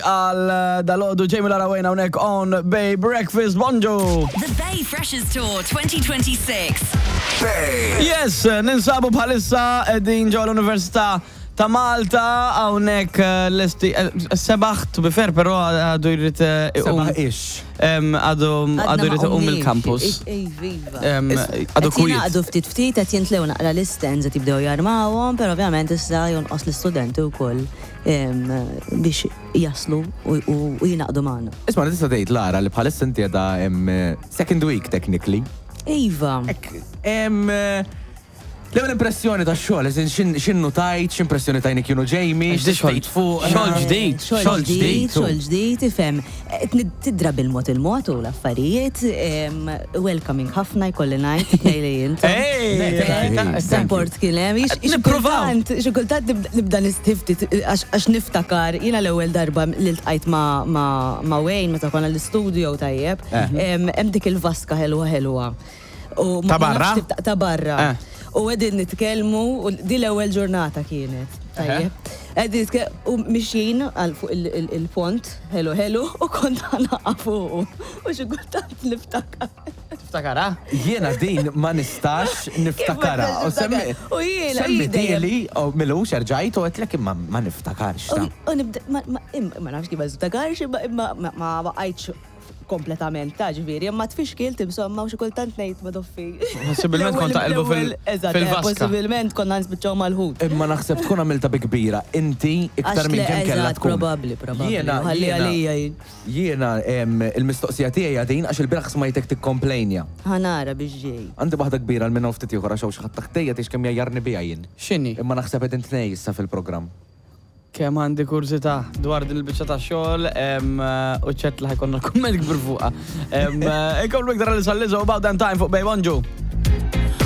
Għal dalgħodu Jamie Lara Wayne hawnhekk on Bay Breakfast. Bonġu! The Bay Freshers Tour 2026. Bay. Yes, ninsabu bħalissa qegħdin ġewwa l-Università ta' Malta hawnhekk eh, lesti eh, sebaħ to be fair però għadu jrid eh, iqum. Sebaħ ix. Em, Għadu għadu jrid iqum mill-campus. Iva. Em, Għadu Qed kwiet. jingħaqdu ftit ftit qed jintlew naqra l-istands qed jibdew jarmawhom, però ovvjament issa jonqos l-istudenti wkoll em, biex jaslu u jingħaqdu magħna. Isma' tista' tgħid Lara li bħalissa inti qiegħda second week technically. Iva. L-ewwel impressjoni tax-xogħol, eżin x'innu tajt, x'impressjoni tajni kienu Jamie, x'tgħid fuq. Xogħol ġdid, xogħol ġdid, xogħol ġdid, ifhem. Tidra bil-mod il-mod u l-affarijiet, welcoming ħafna jkolli ngħid tnejn li intom. Support kien hemm. Nippruvaw. Xi kultant nibda nistħi ftit għax niftakar jiena l-ewwel darba li ltqajt ma' Wayne meta konna l-istudio tajjeb, hemm dik il-vaska ħelwa ħelwa. Ta' barra? Ta' barra. U qegħdin nitkellmu, u di l-ewwel ġurnata kienet. Tajjeb. Qegħdin nitkellmu u mixjin għal fuq il-pont, ħelu ħelu, u kont ħa naqa' fuqu. U xi kultant niftakar. Tiftakarha? Jiena din ma nistax niftakarha. U semmi. U jiena. Semmitieli, u milux erġajt u għedtlek imma ma niftakarx. U nibda, ma nafx kif ma niftakarx, imma ma baqajtx kompletament ta' ġifieri, imma tfixkilt insomma u xi kultant ngħid ma doffi. Possibilment kont taqilbu fil-vaska. Possibilment konna nispiċċaw mal-ħut. Imma naħseb tkun għamiltha bi kbira inti iktar minn kemm kellha tkun. Probabbli, probabbli. Jiena, Ħalli għalija jien. Jiena il-mistoqsija tiegħi hija din għax ilbieraħ smajtek tikkomplejnja. Ħa nara biex ġej. Għandi waħda kbira għal minn hawn ftit ieħor għax hawn xi ħadd taħtejja tgħix kemm jgħajjarni biha jien. X'inhi? Imma naħseb qegħdin tnej issa fil-programm. Kemm għandi kurżità dwar din il-biċċa ta' xogħol u ċert li ħajkonna kumment kbir fuqha. Inkomplu iktar għal issa Lizzo About Damn Time fuq Bay Bonġu.